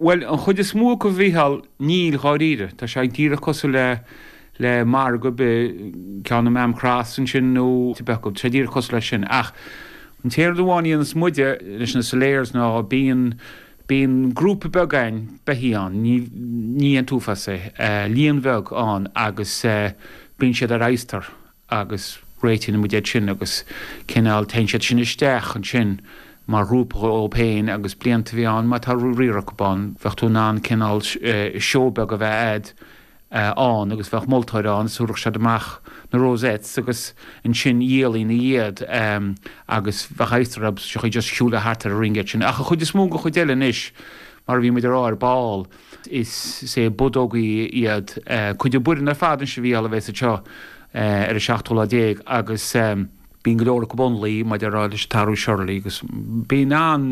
Bhuel, an chuid is mó acu, a Mhícheáil, níl, dháiríre. Tá sé díreach cosúil le le margadh ar bith, ceann i Maamcross ansin nó cibé acu, tá sé díreach cosúil leis sin. Ach an t-aon rud amháin a dhéanas muide leis na salers ná bíonn bíonn grúpa beag againn beithígh ann, ní ní an t-uafás é, líon bheag ann agus bíonn siad ar adhastar. agus réitíonn muid iad sin agus cineál téann siad sin isteach ansin mar ghrúpa dhóibh féin agus blianta a bhí ann má tá riar acu ann bheadh tú in ann cineál seó beag a bheith a'd ann agus bheadh moltóir ann is thabharfadh siad amach na rosettes agus ansin dhíolfainn iad agus bheadh adhastar orthu so just siúl thart ar an ring iad sin ach an chuid is mó den chuid eile anois mar a bhí muid a rá ar ball Is é budógaí iad cuid den bhfoireann ar fad anois a Mhícheáil a bheas anseo ar an seachtú lá déag agus bíonn go leor acu ionlaí maidir leis an t-athrú Shirley agus bíonn an,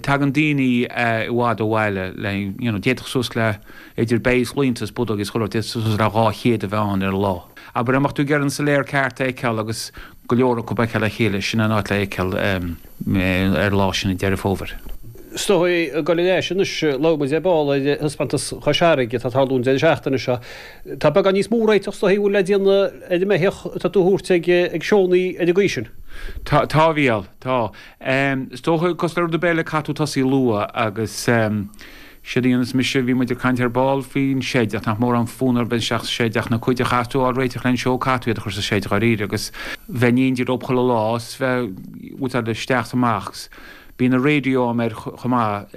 tagann daoine i bhfad ó bhaile le you know d'fhéadfadh suas le idir beithígh is laonta is budógaí is chuile shórt d'fhéadfadh suas le 200 a bheith ann ar an lá. Abair dá mbeadh tú ag iarraidh an saléar ceart a fheiceáil agus go leor acu a fheiceáil le chéile, sin an áit le fheiceáil. ar an lá sin i Deireadh Fómhair. Is dóigh ag dul ar ais anois, labhair muid ar ball ar thaispeántas Chois Fharraige atá ag tarlú an deireadh seachtaine seo. Tá beagán níos mó réiteach is dóigh a bhfuil le déanamh ar an mbeithíoch atá tú a thabhairt ag seónna ar an gcaoi sin. Tá, tá a Mhícheáil, tá. Is dócha, cosúil le rud ar bith eile, caithfidh tú tosaí luath agus Séard a dhéanas mise, bhí muid ag caint ar ball faoin seid ach nach mórán fonn orm bheith isteach sa seid ach na cuid a chaithfeas tú a fháil réiteach len seó caithfidh tú iad a chur sa seid dháiríre agus bheith in éindí leo chuile lá is bheith bhfuil isteach is amach agus bíonn an raidió a'm air chomh maith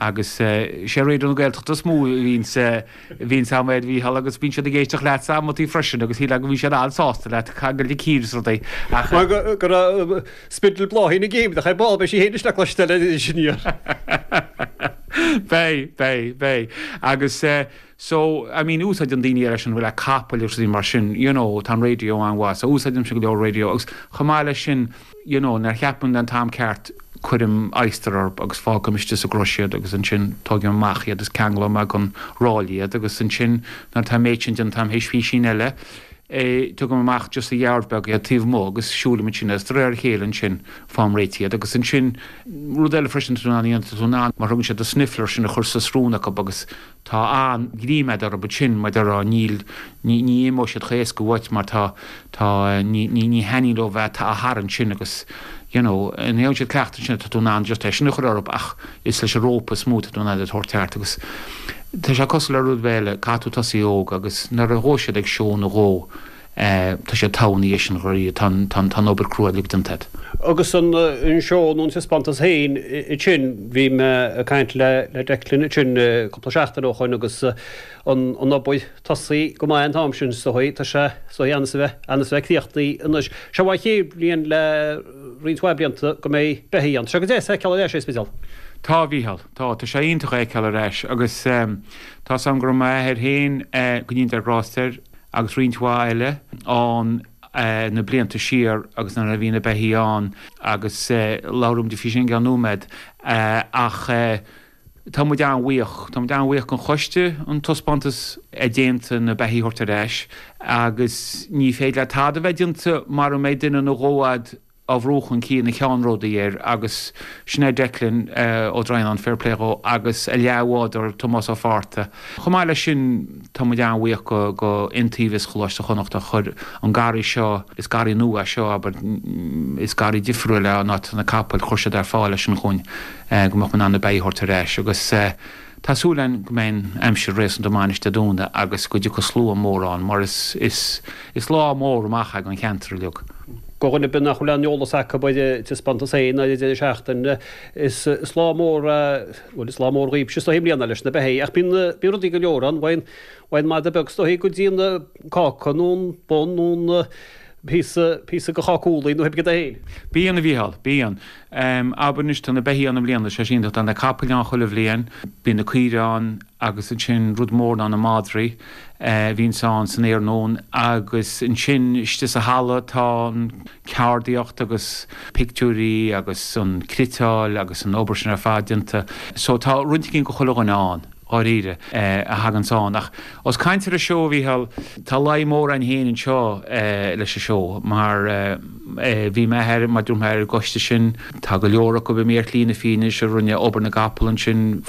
agus sé Raidió na Gaeltachta is mó a bhíonns a bhíonns a'm air a Mhícheál agus bíonn siad ag éisteacht leatsa amantaí freisin agus shílfeá go mbíonn siad an-sásta leat ag dul ag cíor is rudaí ach Mar go raibh Spidil Bláithín ag géim, ach ar ball beidh sí féin anois le cloisteáil anois aniar. Beidh, beidh, beidh. Agus eh, so, I mean, úsáideann daoine eile sin, le capaill agus rudaí mar sin, you know, tá an raidió an-mhaith, so úsáidimse go leor raidió agus chomh maith leis sin, you know, nuair a cheapaim an t-am ceart, cuirim adhastar orthu agus fágaim istigh sa gcrois iad agus ansin tógaim amach iad is ceanglóidh mé gon ráille iad agus ansin nuair atá an méid sin déanta a'm théis písín eile, Tugaim amach just sa yard beag iad taobh amuigh agus siúlaim ansin agus de réir a chéile ansin faighim réitithe iad agus ansin rud eile freisin tá tú in ann a dhéanamh tá tú in ann mar thugann siad na sniffler sin a chur sa srón acu agus tá an-ghreim a'd orthu ansin mar déarfá níl ní ní imeoidh siad chomh éasca uait mar tá tá ní ní ní thaitníonn leo bheith á tharraingt sin agus you know ní fhaigheann siad cleachtadh ansin tá tú in ann just é sin a chur orthu ach is leis an rópa is mó tá tú in ann iad a thabhairt thart agus Tá sé cosúil le rud ar bith eile, caithfidh tú tosaí óg agus nuair a ghabhfaidh siad ag seó nó dhó tá siad togha ina dhiaidh sin dháiríre, tá an tá an obair crua uilig déanta agat. Agus an seó nó an taispeántas féin ansin, bhí mé ag caint le Declan ansin cúpla seachtain ó shoin agus an an obair tosaithe go maith an t-am sin is dóigh, tá sé is dóigh ann is a bheith ann is a bheith críochnaithe anois. Seo an chéad bhliain le roinnt mhaith blianta go mbeidh beithígh ann. Tá sé go deas a fheiceáil ar ais é, a Spidéal. Tá, a Mhícheál. Tá, tá sé iontach é a fheiceáil ar ais agus tá's a'm go raibh m'athair féin, go ndéana Dia grást air, agus roinnt mhaith eile ann na blianta siar agus nuair a bhí na beithígh ann agus labhróimid faoi sin i gceann nóiméad ach tá muid an-bhuíoch, tá muid an-bhuíoch den choiste an taispeántas a déanta na beithígh a thabhairt ar ais agus ní féidir le tada a bheith déanta mara mbeidh duine nó dhó a'd á bhrú chun cinn ina cheannródaí air agus sin é Declan Ó Droighneáin, fair play dhó, agus a leathbhádóir Tomás Ó Fátharta. Chomh maith leis sin tá muid an-bhuíoch go go Iontaobhas Choláiste Chonnacht a chuir an garraí seo, is garraí nua é seo, abair, is garraí difriúil é an áit atá na capaill, chuir siad ar fáil é sin chugainn go mbeadh muid in ann na beithígh a thabhairt ar ais agus tá súil againn go mbeidh an aimsir réasúnta maith anois Dé Domhnaigh agus go dtiocfaidh slua mór ann mar is is is lá mór amach é don cheantar uilig. Do dhuine ar bith nach bhfuil aon eolas acu ar an taispeántas féin ar an deireadh seachtaine, is lá mór é, bhuel is lá mór dhaoibhse is dóigh i mbliana leis na beithígh, ach bíonn, bíonn rudaí go leor ann, bhfaigheann, bhfaigheann madadh beag is dóigh go dtí an cáca nó an bun nó an píosa, píosa de cháca úllaí nó pé rud é féin. Bíonn, a Mhícheáil, bíonn. Abair anois tá na beithígh ann i mbliana, sé sin, tá na capaill ann chuile bhliain, bíonn na caoire ann agus ansin rud mór ná na madraí a bhíonns ann san iarnóin agus ansin istigh sa halla tá an ceardaíocht agus pictiúirí agus an cniotáil agus an obair sin ar fad déanta. So tá roinnt éigin do chuile dhuine ann. dháiríre, a thaganns ann. Ach ós caint ar an seó, a Mhícheáil, tá luí mór againn féin anseo leis an seó mar bhí mé ar, mar dúirt mé, ar an gcoiste sin. Tá go leor acu imithe ar shlí na fírinne anois a rinne obair na gcapall ansin.